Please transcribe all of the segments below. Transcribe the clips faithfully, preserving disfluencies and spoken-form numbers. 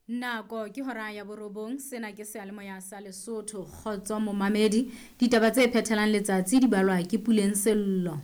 Nako ke hora ya borobong, sena ke seyalemoya sa Lesotho. Kgotso momamedi, ditaba tse phethelang letsatsi di balwa ke Puleng Sello.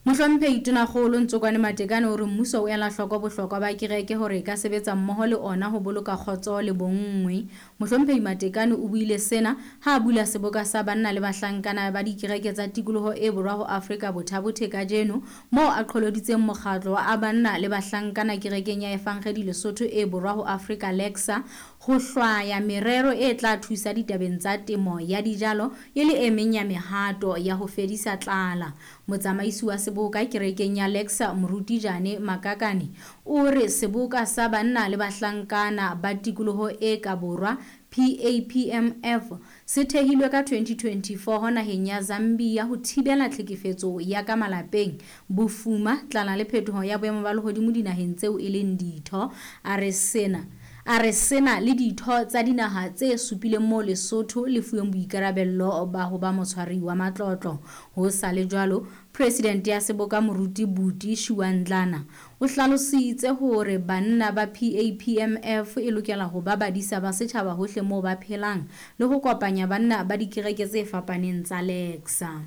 Mohlomphehi Tonakgolo Ntsokwane Matekane o re mmuso o ela hloko bohlokwa ba kereke hore e ka sebetsa mmoho le ona ho boloka kgotso le bonngwe. Mohlomphehi Matekane o buile sena ha a bula seboka sa banna le bahlankana ba dikereke tsa tikoloho e borwa ho Afrika Bothabothe kajeno, moo a qholoditseng mokgatlo wa banna le bahlankana kerekeng ya Evangedi Lesotho e borwa ho Afrika Lexa ho hlwaya merero e tla thusa ditabeng tsa temo ya dijalo e le e meng ya mehato ya ho fedisa tlala. Motsamaisi wa seboka kerekeng ya Lexa Moruti Jane Makakane o re seboka sa banna le bahlankana ba tikoloho e ka borwa P A P M F se thehilwe ka twenty twenty-four naheng ya Zambia ho thibela tlhekefetso ya ka malapeng, bofuma, tlala le phetoho ya boemo ba lehodimo dinaheng tseo e leng ditho. A re sena A re sena le ditho tsa dinaha tse supileng moo Lesotho le fuweng boikarabello ba ho ba motshwari wa matlotlo. Ho sa le jwalo, President ya seboka Moruti Buti Shiwandlana o hlalositse hore banna ba P A P M F e lokela ho ba badisa ba setjhaba hohle moo ba phelang le ho kopanya banna ba dikereke tse fapaneng tsa Lexa.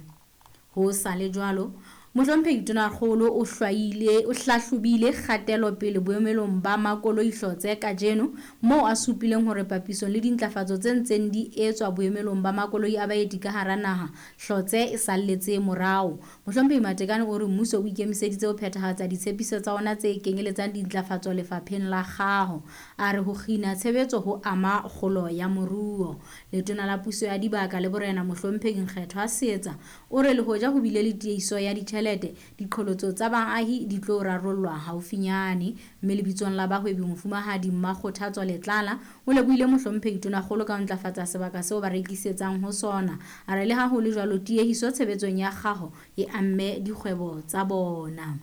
Ho sa le jwalo, Mohlomphehi Tonakgolo o hlwaile o hlahlobile kgatelopele boemelong ba makoloi Hlotse kajeno, moo a supileng hore papisong le dintlafatso tse ntseng di etswa boemelong ba makoloi a baeti ka hara naha, Hlotse e salletse morao. Mohlomphehi Matekane o re mmuso o ikemiseditse ho phethahatsa ditshepiso tsa ona tse kenyeletsang dintlafatso lefapheng la kgaho. A re ho kgina tshebetso ho ama kgolo ya moruo. Letona la Puso ya Dibaka le Borena Mohlomphehi Nkgethwa Seetsa o re le hoja ho bile le tiehiso ya ditjhelete, diqholotso tsa baahi di tlo rarollwa haufinyane. Mme lebitsong la bahwebi Mofumahadi Mmakgothatso Letlala o lebohile Mohlomphehi Tonakgolo ka ho ntlafatsa sebaka seo ba rekisetsang ho sona. A re le ha ho le jwalo, tiehiso tshebetsong ya kgaho e amme dikgwebo tsa bona.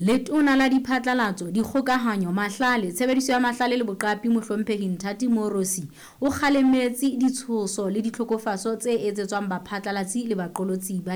Letona la Diphatlalatso, Dikgokahanyo, Mahlale, Tshebediso ya Mahlale le Boqapi Mohlomphehi Nthati Moorosi o kgalemetse ditshoso le ditlhokofatso tse etsetswang baphatlalatsi le baqolotsi ba